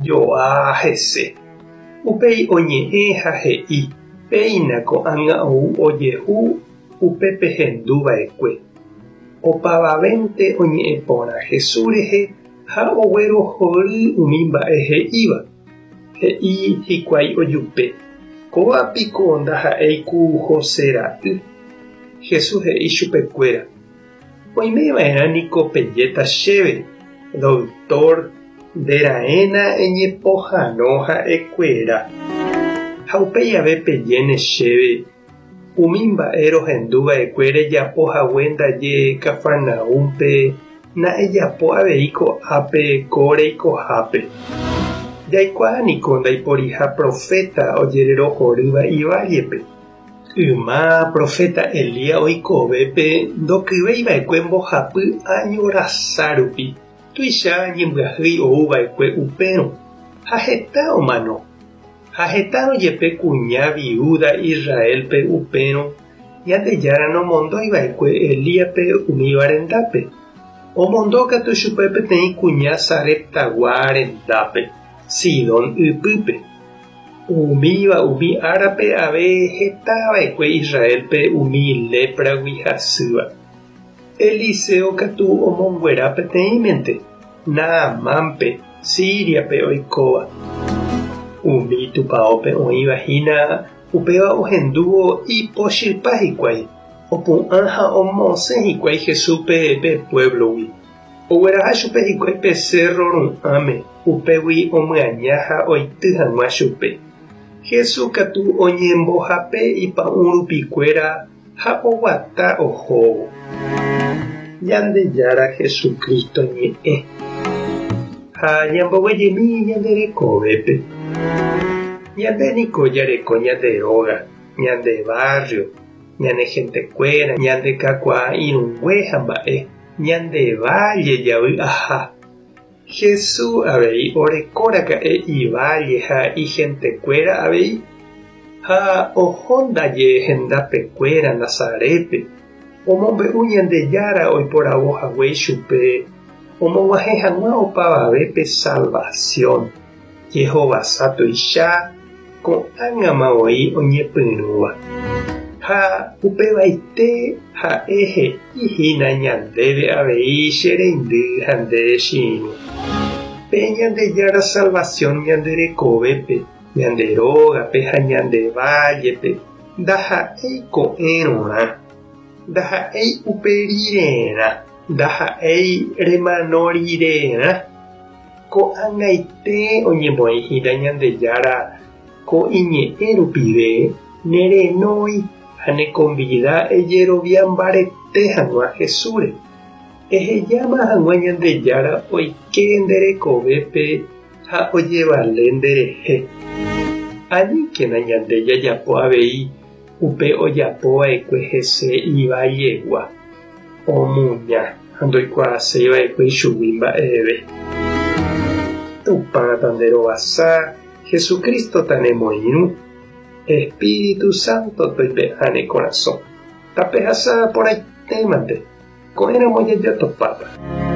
Joa hese. Upéi oñe'ẽ ha he'i, Péina ko'ág̃a ou ojehu upe pehendu va'ekue. Opavavénte oñe'ẽ porã Jesús rehe ha oguerohory umi mba'e he'íva. He'i hikuái ojupe, Kóva piko ndaha'éi ku José ra'y? Jesús he'i chupekuéra, Oime va'erã niko pejéta chéve, Doctor, nde raẽna eñepohãno ha'ekuéra. Ha upéi ave pejéne chéve, Umi mba'e rohendu va'ekue rejapo hague ndaje Cafarnaúmpe, na ejapo avei ko'ápe ko reikohápe. Jaikuaa niko ndaiporiha proféta ojererohorýva ivállepe. Yma proféta Elías oikovépe ndokyvéi va'ekue mbohapy áño rasa rupi, tuicha ñembyahýi ou va'ekue upérõ, ha heta omano. Ha hetárõ jepe kuña viúda Israélpe upérõ, Ñandejára nomondói va'ekue Elíaspe umíva rendápe. Omondo katu chupe peteĩ kuña Sareptagua rendápe, Sidón ypýpe. Umíva umi árape ave heta va'ekue Israélpe umi lépragui hasýva. Eliseo katu omonguera peteĩmente, Naamánpe, Síriape oikóva. Umi tupaópe oĩva hína upéva ohendúvo ipochypa hikuái, opu'ã ha omosẽ hikuái Jesúspe pe puévlogui. Ogueraha chupe hikuái pe sérro ru'ãme, upégui omyaña ha oity hag̃ua chupe. Jesús katu oñembohape ipa'ũ rupikuéra ha oguata ohóvo. Ñandejára Jesucristo ñe'ẽ. Ha ñamboguejymi ñande rekovépe. Ñande niko jareko ñande róga, ñande barrio, ñane gentekuéra, ñande kakuaa irũngue ha mba'e. Ñande válle javy'aha. Jesús avei orekóraka'e iválle ha ihentekuéra avei, ha oho ndaje hendapekuéra Nazarépe, omombe'u Ñandejára oiporavo hague ichupe omog̃uahẽ hag̃ua opavavépe salvasión, jehovasa tuicha ko'ág̃ama voi oñepyrũva. Ha upevaite ha'e he'i hína ñandéve avei che reindy ha nde che irũ. Pe Ñandejára salvasión ñande rekovépe, ñande rógape ha ñande vállepe ndaha'éi ko'ẽrõrã, ndaha'éi upe rirerã, ndaha'éi remano rirerã. Ko'ag̃aite oñemoĩ hína Ñandejára ko iñe'ẽ rupive nerenói ha nekonvida ejerovia mbarete hag̃ua Jesúsre. Ehejáma hag̃ua Ñandejára oike nde rekovépe ha ojevale nderehe. Aníkena ñande jajapo avei upe ojapo va'ekue hese ivallegua, omuña ha ndoikuaaséi va'ekue ichugui mba'eve. Tupã tanderovasa, Jesucristo tanemoirũ, Espíritu Santo toipe'a ne korasõ. Tapehasa porãitémante, ko'ẽramo jajatopáta.